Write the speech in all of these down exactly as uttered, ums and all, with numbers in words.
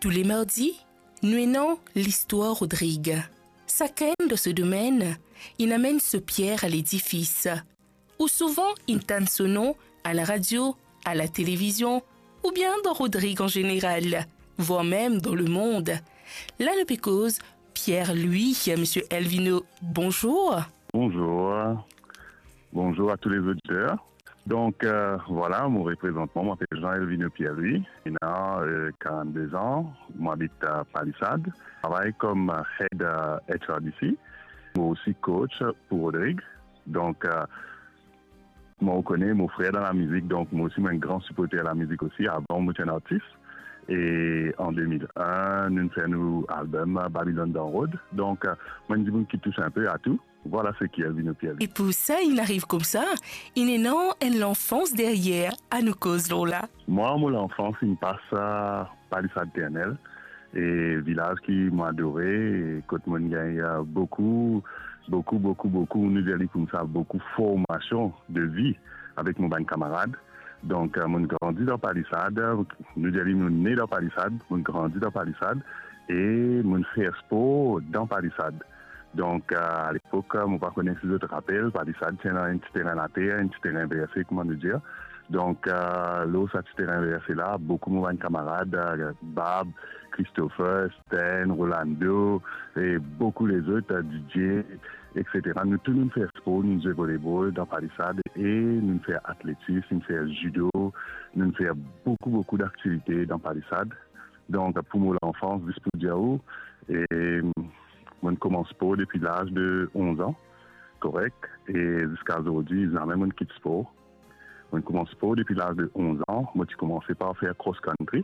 Tou le mardi, nou ena listwar Rodrig. Sakenn dan so domenn, inn amenn so pier a ledifis. Ou souvan inn tann so nom a laradio, a latelevizion, oubien dan Rodrig an zeneral, vwar mem dan lemond. La nou pe koz Pierre Louis, misie Elvino, bonzour. Bonzour. Bonzour à tous les auditeurs. Donc, euh, voilà, mo reprezant mwa, mo apel Jean Elvino Pierre Louis. Ena, euh, quarante-deux ans, mo abit a Palisade. Travay kom, euh, head, euh, H R D C. Mo osi coach pou Rodrig. Donc, euh, mo kone mo frer dan lamizik, donc mo osi mo enn gran siporter lamizik osi. Avan mo ti enn artis. E an deux mille un, nou fer nou album, euh, Babylone Down Road. Donc, euh, mo enn dimoun ki tous inpe a tou. Vwala seki Elvino Pierre Louis. E pou sa inn ariv koumsa, inn ena enn lanfans deryer, anou koz lor la. Mwa, mo lanfans inn pas, euh, Palisade Ternel, e vilaz ki mo adore, e kot mo'nn gagn, euh, boukou, boukou, boukou, boukou, nou dir li koumsa, boukou formasion de vi avek mo bann kamarad. Donc, euh, mo'nn grandi dan Palisade, nou dir li nou ne dan Palisade, mo'nn grandi dan Palisade, e mo'nn fer spor dan Palisade. Donc, euh, a lepok, euh, mo pa kone si zot rapel, Palisade ti ena enn ti terin later, enn ti terin verse, kouma nou dir. Donc, euh, lor sa ti terin verse la, boukou mo bann kamarad, euh, Bab, Christopher, Sten, Rolando, e boukou lezot, euh, Didier, et cetera. Nou tou nou'nn fer spor, nou'nn zwe volebol dan Palisade, e nou'nn fer atletis, nou'nn fer zido, nou'nn fer boukou, boukou daktivite dan Palisade. Donc, pou mo lanfans, zis pou dir ou, e, mo'nn koumans spor depi laz de onz an, korek, e ziska zordi, zame mo'nn kit spor. Mo'nn koumans spor depi laz de onz an. Mo ti koumanse par fer cross country,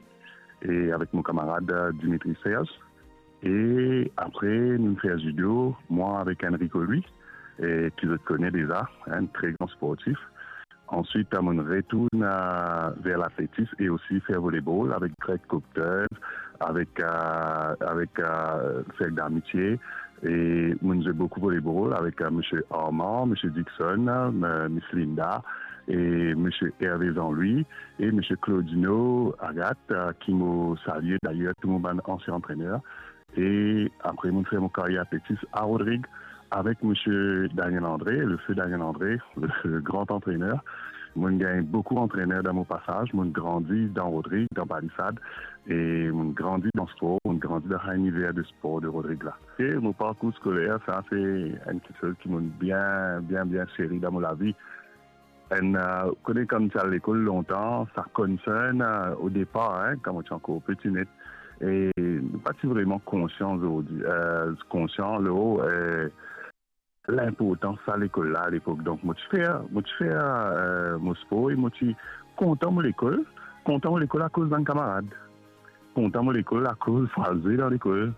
e avek mo kamarad, euh, Dimitri Serge. E apre, nou fer zido, mwa avek Enrico Louis, e ki zot kone deza, enn tre gran sportif. Answit, mo'nn retourn, euh, ver latletis e osi fer volebol avek Greg Copter, avek, euh, avek, euh, Serge Darmitier. E mo'nn zwe boukou volebol avek, euh, misie Armand, misie Dixon, euh, Miss Linda, e misie Hervé Jean-Louis, e misie Claudino Agathe, euh, ki mo salie dayer, tou mo bann ansien antrener. E apre, mo'nn fer mo karyer atletis a Rodrig avek misie Daniel André, le feu Daniel André, le gran antrener. Mo'nn gagn boukou antrener dan mo pasaz, mo'nn grandi dan Rodrig, dan Palisade, e mo'nn grandi dan spor, mo'nn grandi dan sa liniver de spor de Rodrig la. E mo parkour skoler, sa se enn kiksoz ki mo'nn bien, bien, bien seri dan mo lavi. Enn, euh, kone kan ti al lekol lontan, sa konsern, euh, o depar, hein, kan mo ti ankor peti net, e nou pa ti vreman konsian zordi, euh, konsian lor, euh, linportans sa lekol la alepok. Donk, mo ti fer, mo ti fer, euh, mo spor e mo ti kontan mo lekol, kontan mo lekol akoz bann kamarad, kontan mo lekol akoz pou al zwe dan lekol.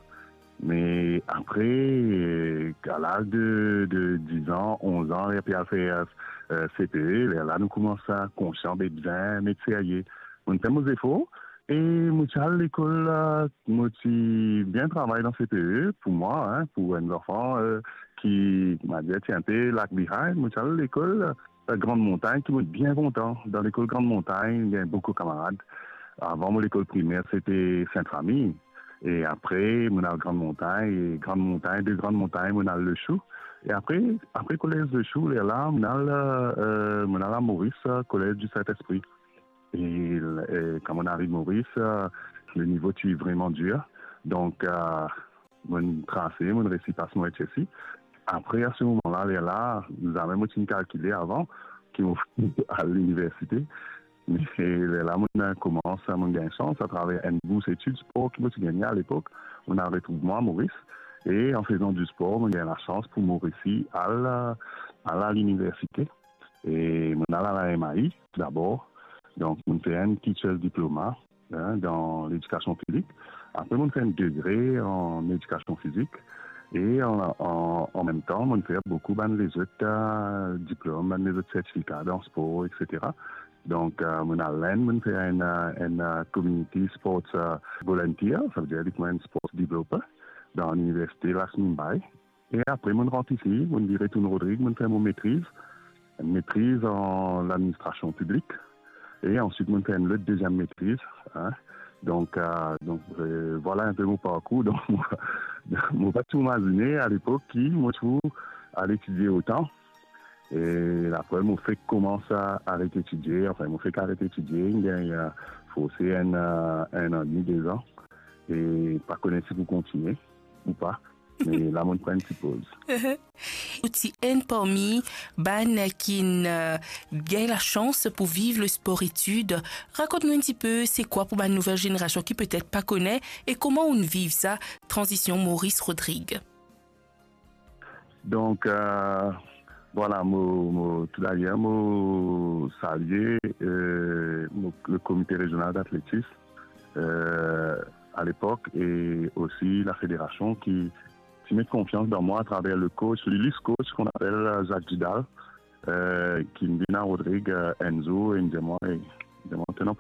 Me apre, euh, a laz de, de diz an, onz an, ler pe al fer, euh, C P E, lerla nou koumans konsian be bizin met serye. Mo'nn fer mo zefor, e mo ti al lekol, euh, mo ti bien travay dan C P E, pou mwa, hein, pou enn zanfan, euh, ki, koumadir, ti inpe lag behind, mo ti al lekol, euh, Grande Montagne, ki mo bien kontan. Dan lekol Grande Montagne, gagn boukou kamarad. Avan mo lekol primer, se te Sainte Famille. E apre, mo'nn al Grande Montagne, e Grande Montagne, de Grande Montagne, mo'nn al Le Chou. E apre, apre kolez Le Chou, lerla, mo'nn al, euh, mo'nn al a Maurice, euh, Collège du Saint-Esprit. E, e kan mo'nn ariv Maurice, euh, le nivo ti vreman dir. Donk, euh, mo'nn trase, mo'nn resi pas mo H S C. Apre, a se moman la, lerla, zame mo ti'nn kalkile avan ki mo al liniversite. Me lerla, mo'nn koumans, mo'nn gagn sans atraver enn bours etid spor ki mo ti gagne alepok. Mo'nn al retrouv mwa Maurice. E an fezan di spor, mo'nn gagn lasans pou mo resi al, al a liniversite. E mo'nn al a la M A I dabor. Donk, mo'nn fer enn teacher's diploma, hein, dan ledikasion fizik. Apre, mo'nn fer enn degre an edikasion fizik. E an, an, an mem tan, mo'nn fer boukou bann lezot, euh, diplom, bann lezot sertifika dan spor, et cetera. Donk, euh, mo'nn al Lenn, mo'nn fer enn, euh, enn, euh, community sports, euh, volunteer, savedir li pou enn sports developer dan liniversite Laxe Mumbai. E apre, mo'nn rant isi, mo'nn vire retourn Rodrig, mo'nn fer mo metriz, enn metriz an ladministrasion piblik. E answit, mo'nn fer enn lot deziem metriz, hein, Donk, euh, donk, euh, vwala enpe mo parkour. Donk, mo, mo pa ti imazine alepok ki mo ti pou al etidie otan. E apre, mo fek koumans a aret etidie. Anfin, mo fek aret etidie, gagn, euh, forse enn, euh, enn an demi, de zan. E pa kone si pou kontigne ou pa. Me la, mo pran enn ti poz. Ou ti enn parmi bann ki'nn, euh, gagn lasans pou viv le sport etid. Rakont nou enn tipe, se kwa pou bann nouvel zenerasion ki petet pa kone, e kouma ou'nn viv sa, tranzision Maurice Rodrigue? Donk, euh, vwala, mo, mo, tou dayer, mo salie, euh, mo, le Comité Régional d'Athlétisme, euh, alepok, e osi la federasion ki, ki met konfians dan mwa atraver le coach, le, le coach ki apel, euh, Jacques Vidal, euh, ki'nn vinn a Rodrigue, euh, enn zour, e inn dir mwa, e, dir mwa, to ena pou